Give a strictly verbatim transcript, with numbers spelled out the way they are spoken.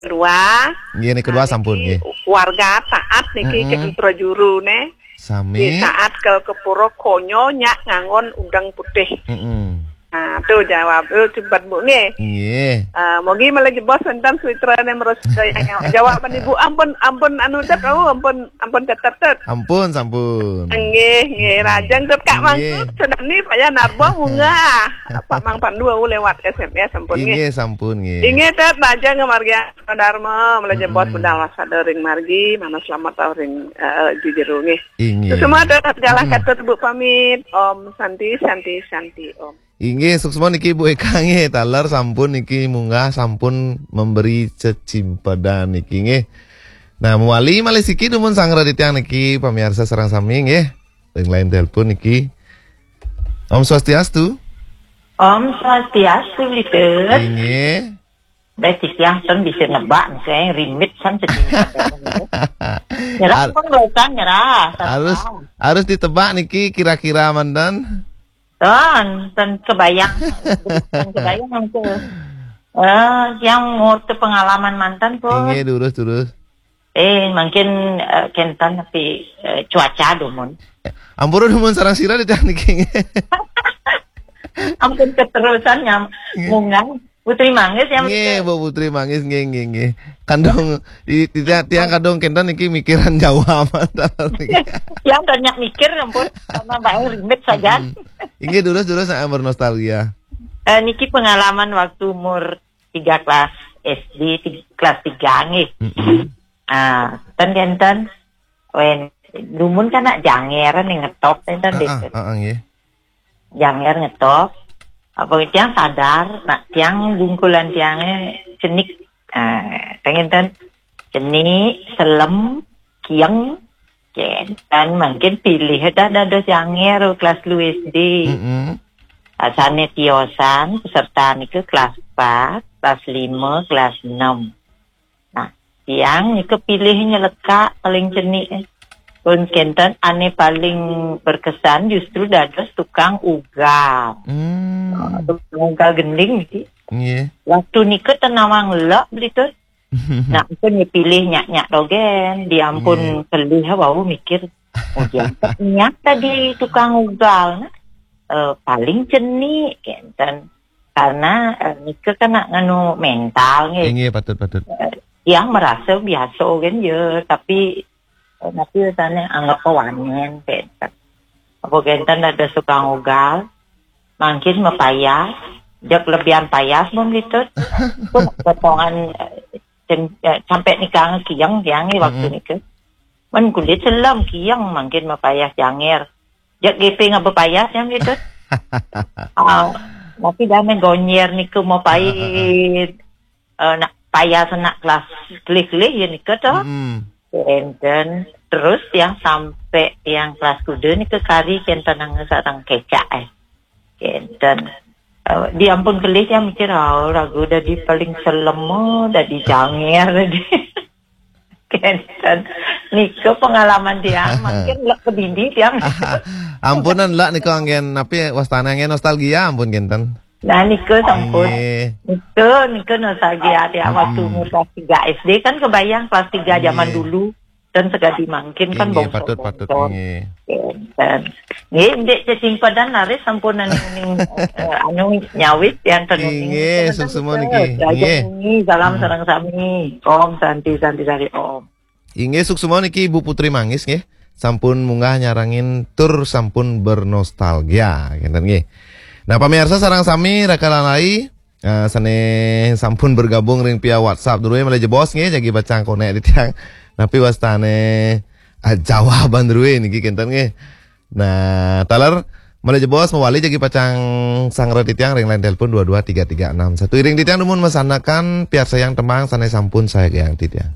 Kedua, nggih, niki kedua sampun, niki nggih. Warga taat niki, heeh, ke Putra Juru ne. Sami. Di saat ke, ke pura konyo nyak nganggon udeng putih. Heeh. Nah, tu jawab. Tu cepat, Bu, nggih. Nggih. Ah, mogi malah jebos wonten sutra ne merus yang jawab. Ibu, ampun, ampun anu tet, oh, ampun, ampun tetet tet. Ampun, sampun. Nggih, nggih, rajang tet Kak Mangkut, nggih. Sedang ni payah narbong munggah. Pak Mang Pandu, aku lewat S M S, ampun, nggih. Nggih, sampun, nggih. Nggih, tet rajang kemargian Dharma, malah jebos, mm-mm, budal wasada ring margi, mana selamat tau ring, eh, jujuru, nggih. Nggih. Semua tet jalan, mm-mm, kata Bu pamit. Om Santi, Santi, Santi, Om. Inggih, suksma niki Bu Eka nggih, taler sampun niki munggah sampun memberi cecimpedan niki nggih. Nah, mawali malih siki dumun sanggra titiang niki pamiarsa sareng sami nggih. Ring line telepon niki. Om Swastiastu. Om Swastiastu, Litur. Inggih. Deh, titiang ten bisa nebak nih, saya rimit san cecimpedan. Nyerah ar- pun, nyerah. Harus, harus ditebak niki kira-kira manten. Ten, ten kebayang. Ten kebayang tu. Eh, yang ngorte pengalaman manten pun. Inggih, durus, durus. Eh, mungkin, eh, kenten tapi, eh, cuaca dumun. Ampura dumun sareng sira di teknik nggih. Ampun keterusan nyam, nggih, munggah. Putri Manggis yang nggih, Bu Putri Manggis, nggih, nggih, nggih. Kandung, i-, i-, tiang, tiang kandung kenten niki mikiran Jawa manten niki. Tiang banyak mikir, ampun, karena bae rimit saja. Mm-mm. Inggih, durus, durus, saya bernostalgia. Eh, niki pengalaman waktu umur tiga kelas S D, tig-, kelas tiga nggih. Mm-mm. Ah, ten kenten, wen, dumun kan nak janger nih ngetop, ten, ten, heeh, deh. Heeh, nggih. Janger ngetop. Apa tiang sadar, nak tiang bungkulan tiangnya cenik. Ah, ten kenten, cenik, selem, kieng, kenten, mungkin pilih dah dados janger kelas lu S D. Mm-mm. Asane tiosan peserta niku kelas empat, kelas lima, kelas enam. Nah, tiang niku pilih nyelekak paling cenik. Pun kenten ane paling berkesan justru dados tukang ugal. Hmm. Ah, tukang ugal gending sih. Nggih. Waktu niku tenawang lek beli tu. Nah, aku nyepilih nyak-nyak dogen, diampun, nggih, kelih, wau mikir, "Oh, dia niat tadi tukang ugal, nah, eh, paling cenik," kenten. Karena, eh, nika kan nak nganu mental, nggih. Nggih, patut, patut. Eh, yang merasa biasa kan, ya, tapi, eh, tapi tanya anggap kawanen, kenten. Apa kenten ada tukang ugal, mangkin mapayas, jak lebihan payas, bom litut. Pun potongan, eh, cem-, eh, sampai nikang kiang, kiang ni waktu, mm-mm, nika. Men kulit selam kiang, mangkin mapayas janger. Jak gepeng apa payas yang litut. Ah, tapi dah main gonyer nika mau pahit. Eh, nak payah senak kelas kelih-kelih ya nika to. Mm-mm. Kenten. Terus yang sampai yang kelas kuda nika kari kenten nang sareng kecak, eh. Kenten. Eh, diampun kelih yang mikir, "Oh, ragu dadi paling selem, oh, dadi janger." Kenten. Nika pengalaman tiang, makin lek kedidi tiang. Ampunan lek nika anggen, napi wastane anggen nostalgia, ampun kenten. Nah, nika sampun. Nggih. Nika, nika nostalgia tiang waktu, mm-mm, umur kelas tiga S D kan kebayang kelas tiga zaman, nggih, dulu. Dan segadi mangkin kan, nggih, bongso-bongso. Patut, patut, nggih. Kenten. Nggih, ndik cecimpedan laris sampun anu ning, eh, anu nyawit yang tenun ning. Nggih, suksma niki. Raja nggih. Nggih, salam, mm-mm, sareng sami. Om Santi, Santi Sari Om. Inggih, suksma niki Ibu Putri Manggis nggih. Sampun munggah nyarengin tur sampun bernostalgia, kenten nggih. Nah, pamiarsa sareng sami raka lalai, eh, sane sampun bergabung ring via WhatsApp druwe malih jebos nggih, jagi pacang konek di tiang. Napi wastane, eh, jawaban druwe niki kenten nggih. Nah, taler malih jebos mawali jagi pacang sanggra titiang ring line telepon dua dua tiga tiga enam satu. Iring titiang dumun masanakan piarsayang tembang sane sampun sayang titiang.